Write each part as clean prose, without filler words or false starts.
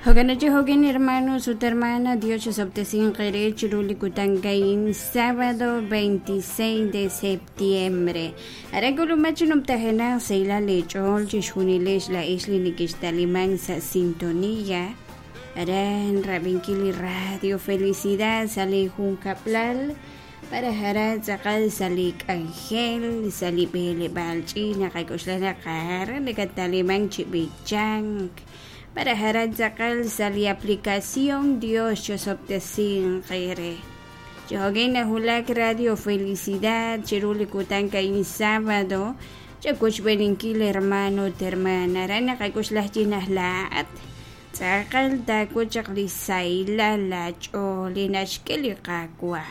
Jo'kan chi jo'kin hermanos ut hermana, Dios chisob'tesinq eere chiru li kutan a'in, sábado 26 de septiembre. Aran k'ulumaj chi numtajenaq sahilal eech'ool chixjunilex laa'ex li nekextalimank sa' sintonía aran rab'inkil li Radio Felicidad sa' li junkab'lal malaj aran tz'aqal sa' li k'anjel, sa' li b'eleb'aal ch'iich' naqak'oxla naq aran nakatalimank chi b'ichank. Malaj aran tz'aqal sa' li aplicación Dios chosob'tesinq eere. Chi jo'kan nawulak Radio Felicidad chiru li kutan a'in sábado chawochb'eeninkil hermano ut hermana aran naqak'oxla chi naq laa'at tz'aqal taawil chaq li sahilal laach'ool li naxk'e li Qaawa'.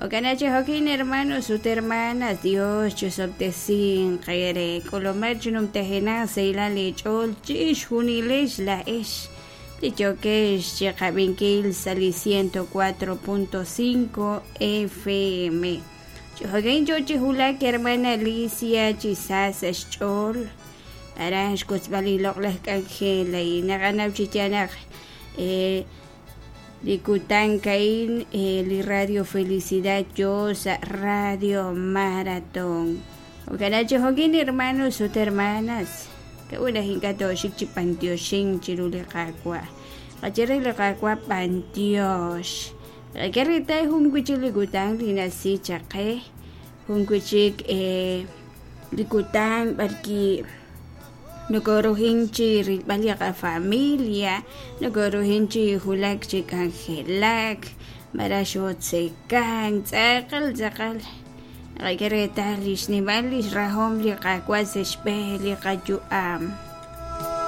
Jo'kan chi jo'kin hermanos ut hermanas, Dios chosob'tesinq eere. K'ulumaq chi numtajenaq sahilal eech'ool chixjunilex laa'ex li yookex chiqab'inkil sa' li 104.5 FM. Chi jo'kan yoo chi wulak hermana Alicia chi sa sa' xch'ool aran xwotzb'al li loq'laj k'anjel a'in. Naqanaw chi yaal naq li kutan a'in li Radio Felicidad yoo sa' Radio Maratón. Jo'kan chi jo'kin hermanos ut hermanas, k'a'ut naq ink'a' tooxik chi b'antioxink chiru li Qaawa'? Qaye re li Qaawa' b'antiox. Qak'e reetal jun wi' chik li kutan li nasi chaq qe, jun wi' chik li kutan b'arwi' nokoruhin chi rilb'al li qafamilia, nokoruhin chi wulak chi k'anjelak, malaj xootzekank, tz'aqal tz'aqal naqak'e reetal li xnimal lix rahom li Qaawa' sa' xb'een li qayu'am.